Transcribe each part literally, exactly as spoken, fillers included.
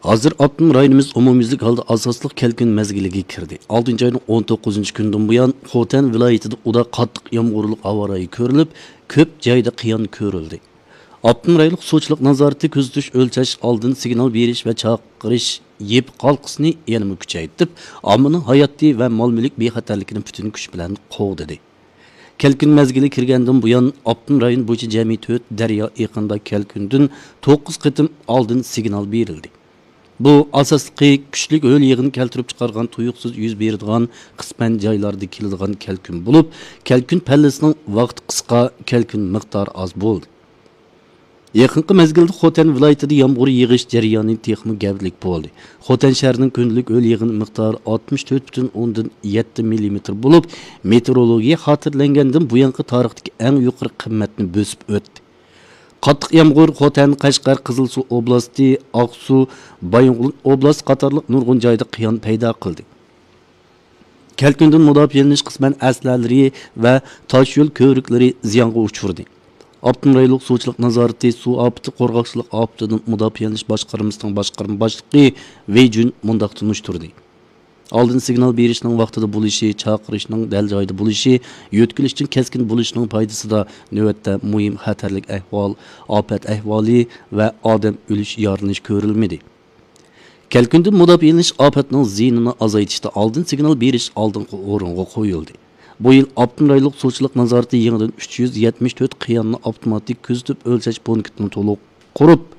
ھازىر ئاپتونوم رايونىمىز ئومۇميۈزلۈك ھالدا ئاساسلىق كەلكۈن مەزگىلىگە كىردى. ئالتىنچى ئاينىڭ ئون توققۇزىنچى كۈنىدىن بۇيان، خوتەن ۋىلايىتىدە ئۇدا قاتتىق يامغۇرلۇق ھاۋا رايى كۆرۈلۈپ، كۆپ جايدا قىيان كۆرۈلدى. ئاپتونوم رايونلۇق سۇچىلىق نازارىتى كۆزىتىش، ئۆلچەش، ئالدىن سىگنال بېرىش ۋە چاقىرىش يېپىق ھالقىسىنى يەنىمۇ كۈچەيتىپ، ئاممىنىڭ ھاياتى ۋە مال مۈلۈك بىخەتەرلىكىنى پۈتۈن كۈچ بىلەن قوغدىدى. كەلكۈن مەزگىلى كىرگەندىن بۇيان، ئاپتونوم رايون بويىچە جەمئىي تۆت دەريا ئېقىنىدا كەلكۈندىن توققۇز قېتىم ئالدىن سىگنال بېرىلدى. بۇ ئاساسلىقى كۈچلۈك ھۆل يېغىن كەلتۈرۈپ چىقارغان تۇيۇقسىز يۈز بېرىدىغان، قىسمەن جايلاردا كېلىدىغان كەلكۈن بولۇپ، كەلكۈن پەللىسىنىڭ ۋاقتى قىسقا، كەلكۈن مىقدارى ئاز بولدى. يېقىنقى مەزگىلدە خوتەن ۋىلايىتىدە يامغۇر يېغىش جەريانى تېخىمۇ گەۋدىلىك بولدى. خوتەن شەھىرىنىڭ كۈندىلىك ھۆل يېغىن مىقدارى ئاتمىش تۆت پۈتۈن ئوندىن يەتتە مىللىمېتىر بولۇپ، مېتېئورولوگىيە خاتىرىلەنگەندىن بۇيانقى تارىختىكى ئەڭ يۇقىرى قىممەتنى بۆسۈپ ئۆتتى. قاتتىق يامغۇر خوتەن، قەشقەر، قىزىلسۇ ئوبلاستى، ئاقسۇ، بايىنغولىن ئوبلاستى قاتارلىق نۇرغۇن جايدا قىيان پەيدا قىلدى. كەلكۈندىن مۇداپىئەلىنىش قىسمەن ئەسلىھەلىرى ۋە تاشيول كۆۋرۈكلىرى زىيانغا ئۇچرىدى. ئاپتونوم رايونلۇق سۇچىلىق نازارىتى سۇ ئاپىتى قورغاقچىلىق ئاپىتىدىن مۇداپىئەلىنىش باشقارمىسىنىڭ باشقارما باشلىقى ۋېي جۈن مۇنداق تونۇشتۇردى: ئالدىن سىگنال بېرىشنىڭ ۋاقتىدا بولۇشى، چاقىرىشنىڭ دەل جايىدا بولۇشى، يۆتكىلىشنىڭ كەسكىن بولۇشىنىڭ پايدىسىدا نۆۋەتتە مۇھىم خەتەرلىك ئەھۋال، ئاپەت ئەھۋالى ۋە ئادەم ئۆلۈش، يارىلىنىش كۆرۈلمىدى. كەلكۈندىن مۇداپىئەلىنىش ئاپەتنىڭ زىيىنىنى ئازايتىشتا ئالدىن سىگنال بېرىش ئالدىنقى ئورۇنغا قويۇلدى. بۇ يىل ئاپتونوم رايونلۇق سۇچىلىق نازارىتى يېڭىدىن ئۈچ يۈز يەتمىش تۆت قىياننى ئاپتوماتىك كۆزىتىپ ئۆلچەش پونكىتىنى تولۇق قۇرۇپ،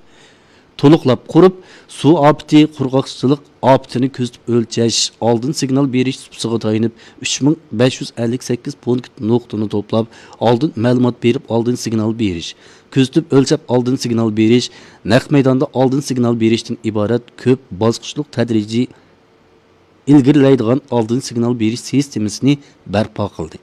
تولۇقلاپ قۇرۇپ، سۇ ئاپىتى، قۇرغاقچىلىق ئاپىتىنى كۆزىتىپ ئۆلچەش، ئالدىن سىگنال بېرىش سۇپىسىغا تايىنىپ، ئۈچ مىڭ بەش يۈز ئەللىك سەككىز پونكىت نۇقتىنى توپلاپ، ئالدىن مەلۇمات بېرىپ، ئالدىن سىگنال بېرىش، كۆزىتىپ ئۆلچەپ ئالدىن سىگنال بېرىش، نەق مەيداندا ئالدىن سىگنال بېرىشتىن ئىبارەت كۆپ باسقۇچلۇق تەدرىجىي ئىلگىرىلەيدىغان ئالدىن سىگنال بېرىش سىستېمىسىنى بەرپا قىلدى.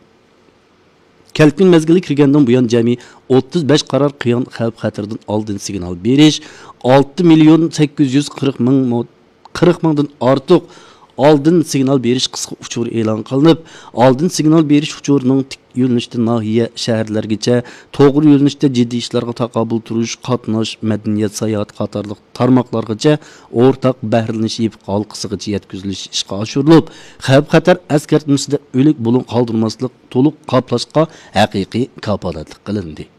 كەلكۈن مەزگىلى كىرگەندىن بۇيان، جەمئىي ئوتتۇز بەش قارار قىيان خەۋپ خەتىرىدىن ئالدىن سىگنال بېرىش، ئالتە مىليون سەككىز يۈز قىرىق مىڭ مو-، قىرىق مىڭدىن ئارتۇق ئالدىن سىگنال بېرىش قىسقا ئۇچۇرى ئېلان قىلىنىپ، ئالدىن سىگنال بېرىش ئۇچۇرىنىڭ تىك يۆنىلىشتە ناھىيە، شەھەرلەرگىچە، توغرا يۆنىلىشتە جىددىي ئىشلارغا تاقابىل تۇرۇش، قاتناش، مەدەنىيەت، ساياھەت قاتارلىق تارماقلارغىچە ئورتاق بەھرىلىنىش يېپىق ھالقىسىغىچە يەتكۈزۈلۈشى ئىشقا ئاشۇرۇلۇپ، خەۋپ خەتەر ئەسكەرتمىسىدە ئۆلۈك بۇلۇڭ قالدۇرماسلىق تولۇق قاپلاشقا ھەقىقىي كاپالەتلىك قىلىندى.